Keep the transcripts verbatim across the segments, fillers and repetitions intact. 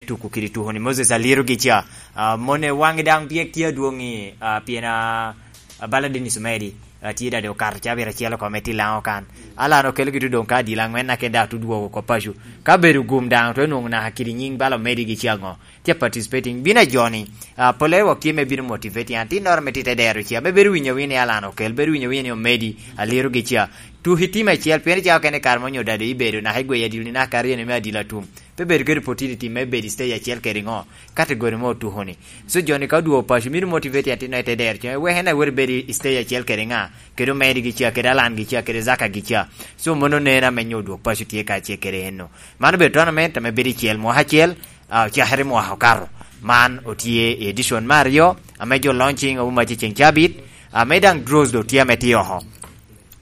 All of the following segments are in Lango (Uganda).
tuko kede tuko ni Moses Aliero gi ca. Ah, mone waŋi daŋ byek tye adwoŋ i, ah, pien, ah, ah, bala Dennis Omedi, ah, tye dade okato ca abiro acel oko me ti Laŋo kan. Alan okelo gitu doŋ ka adil aŋwen na ken daŋ tudwogo oko paco. Ka bedo gum daŋ to enwoŋo naka kede nyiŋ bala Omedi gi ca ŋo. Tye participating. Bino ajoni, ah, pole wok tye me bino motivating. An tinnoro me tite dero ca. Me bedo winyo winyo ni Alan okel, bedo winyo winyo ni Omedi, Aliero gi ca. Tuki tim acel, pien i ca okene kare mo onyo dade ibedo naka igweyo adil ni naka aryo ni me adil atum. Pe bedo kede opportunity me bedo i stage acel kede ŋo, category mo otuko ni. So, joni ka odwogo paco, mito motivate atin i te dero, cen wek en awot bedo i stage acel kede ŋa, kede Omedi gi ca, kede Alan gi ca, kede Zaka gi ca. So, mono neno ame nyo odwog paco tye kacel kede enno. Man obedo tournament ame bedo i cel mwaka acel, ah, ocakere mwaka okato. Man otye i edition me aryo, ame jo launching owo mac i ceng cabit, ame daŋ draws do tye ame tye oko.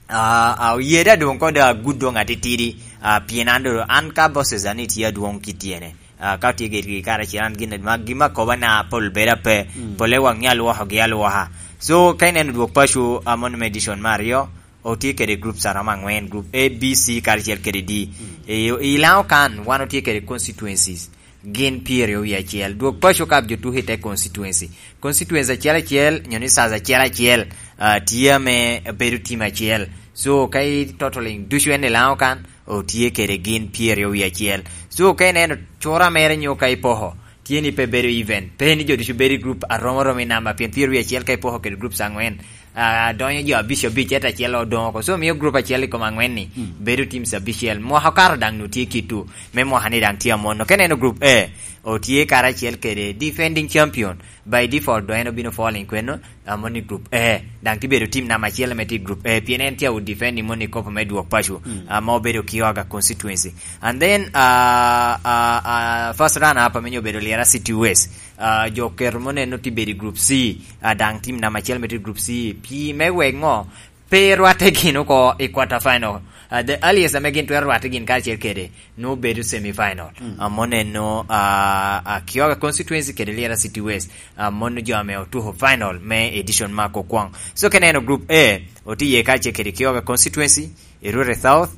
Ah, ah, oye da doŋ kode agud doŋ atitidi, ah, pien an doŋ, an ka bosses ani tye adwoŋ ki tyene. Ah, ka otye gitgi karacel, an gin ma, gin ma koba na pol bedo ape, mm, pole waŋ alwokogi alwoka. So, ka ineno dwok paco, ah, mono me edition me aryo, otye kede groups aromo aŋwen, group A, B, C, karacel kede D. Mm. I, i Laŋo kan, wan otye kede constituencies. Gin pyeraryo wie acel. Dwok paco ka jo tuko i te constituency. Constituency acel acel, nyo ni size acel acel, ah, tye ame bedo tim acel. So, ka i totaling ducu en i Laŋo kan, otye kede gin pyeraryo wie acel. So, ka ineno cura mere nyo ka ipoko, tye ni pe bedo even. Pe ni jo ducu bedo i group aromo aromo i namba, pien pyeraryo wie acel ka ipoko kede groups aŋwen, ah, donyo jo abic abic, ento acel odoŋ oko. So, miyo group acel i kom aŋwen-ni, mm, bedo teams abicel. Mwaka okato daŋ nu tye kittu, me mwaka-ni daŋ tye amono. Ka ineno group A, otye karacel kede defending champion. By default, doŋ en obino falling kweno, ah, moni group A. Daŋ tye bedo team namba acel ame tye i group A, pien en tye a defending moni kopo me dwok paco, mm, ah, ma obedo Kioga constituency. And then, ah, ah, ah, first runner up ame nyo obedo Lira City West. Ah, jo keto mo neno tye bedo i group C, ah, daŋ team namba acel me tye i group C. Pi me wek ŋo? Pe rwatte gin oko i quarter final. Ah, the earliest ame gin twero rwatte gin kacel kede, nwo bedo semi final. Mm. Ah, mo neno, ah, ah, Kioga constituency kede Lira City West. Ah, mono jo ame otuko final me edition ma kokwaŋ. So, ka ineno group A, otye iye kacel kede Kioga constituency, Erure South,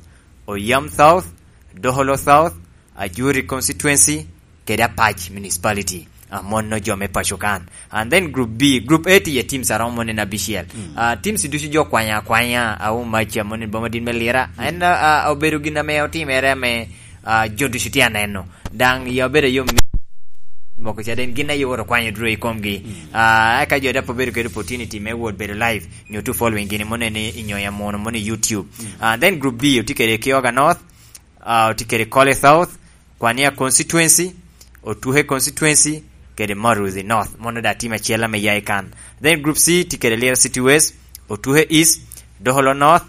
Oyam South, Doholo South, Ajuri constituency, kede Apac municipality. Ah, mono jo me paco kan. And then group B, group A tye iye teams aromo mono en abicel. Mm. Ah, teams ducu jo kwanya akwanya, awu mac, ah, mono en boma dit me Lira. Mm. En, ah, ah, obedo gin ame otimere ame, ah, jo ducu tye aneno. Daŋ ya obedo ayom moko ca den gin aye oro kwanyo duro i komgi. Mm. Ah, eka jo dapo bedo kede opportunity me wot bedo live, nyo to following gini mono en i, i nyoya mono, mono i YouTube. Mm. Ah, then group B, otye kede Kioga North, ah, otye kede Kole South, Kwania constituency, Otuhe constituency, kede Maruthi North. Mono da team acel ame ya i kan. Then group C, tye kede Lira City West, Otuhe East, Doholo North,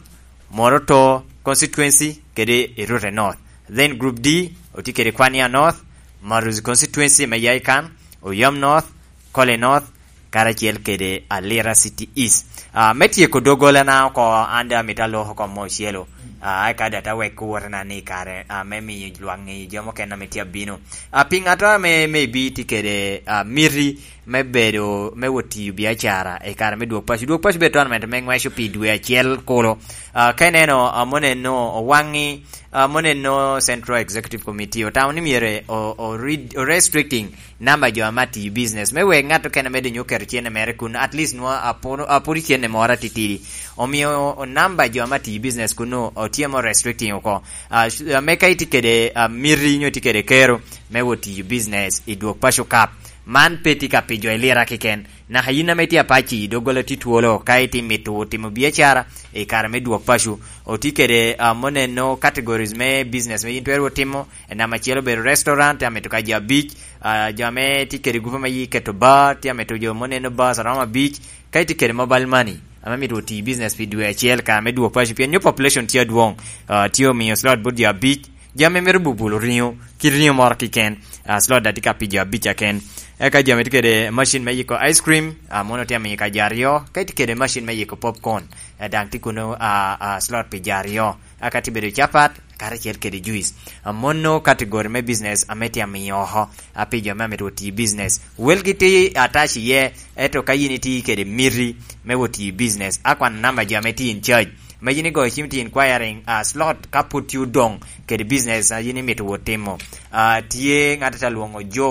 Moroto constituency, kede Erure North. Then group D, otye kede Kwania North, Maruthi constituency ame ya i kan, Oyam North, Kole North, karacel kede Alira City East. Ah, me tyeko doggolana oko, an daŋ amito alok oko mo ocelo. Ah, eka daŋ te wek wotena ni kare, ah, me miyo lwak ŋeyo jo mukene ame tye abino. Ah, pi ŋat ame maybe tye kede, ah, miti me bedo, me wot tiyo biacara i kare me dwok paco. Dwok paco bedo tournament me ŋweco pi dwe acel kulu. Ah, ka ineno, ah, moneno owaŋi, ah, moneno Central Executive Committee otamo ni myero o, o, o restricting namba jo ame atiyo business. Me wek ŋat okene me donyo oketo cene mere kun, at least nwa apuro, apuro cene moro atitidi. Omio o, namba jo ame atiyo business kun o, otye mo restricting oko. Ah, sh-, ah, me ka itye kede, ah, miti nyo itye kede kero me wot tiyo business i dwok paco kap. Man pe tye ka pi jo i Lira keken. Naka yin ame itye apac i doggola tye twolo ka itye mito timo biacara i kare me dwok paco. Otye kede, ah, moneno categories me business me yin twero timo. Namba acel obedo restaurant, tye amito ka jo abic. Ah, jo ame tye kede gupe me yi keto bar, tye amito jo mo neno bars aromo abic. Ka itye kede mobile money, ame mito oti business pi dwe acel ka me dwok paco, pien nyo population tye adwoŋ, ah, tye omiyo slot bot jo abic. Jo ame mito bubulo ringo, ki ringo moro kiken, ah, slot da tye ka pi jo abic aken. Eka jo ame tye kede machine me yiko ice cream, ah, mono tye amiyo ka jo aryo. Ka itye kede machine me yiko popcorn, eh, daŋ tye kuno, ah, ah, slot pi jo aryo. Aka tye bedo capat, karacel kede juice. Amono category me business ame tye amiyo oko, a pi jo ame amito oti business. Welgi tye attach iye, ento ka yin itye kede miti me wot tiyo business, a kwan namba jo ame tye in charge. Me yin igoyo cim tye inquiring, ah, slot ka pud tye odoŋ kede business a yin imito wot timo. Ah, tye ŋat a tye alwoŋo Joe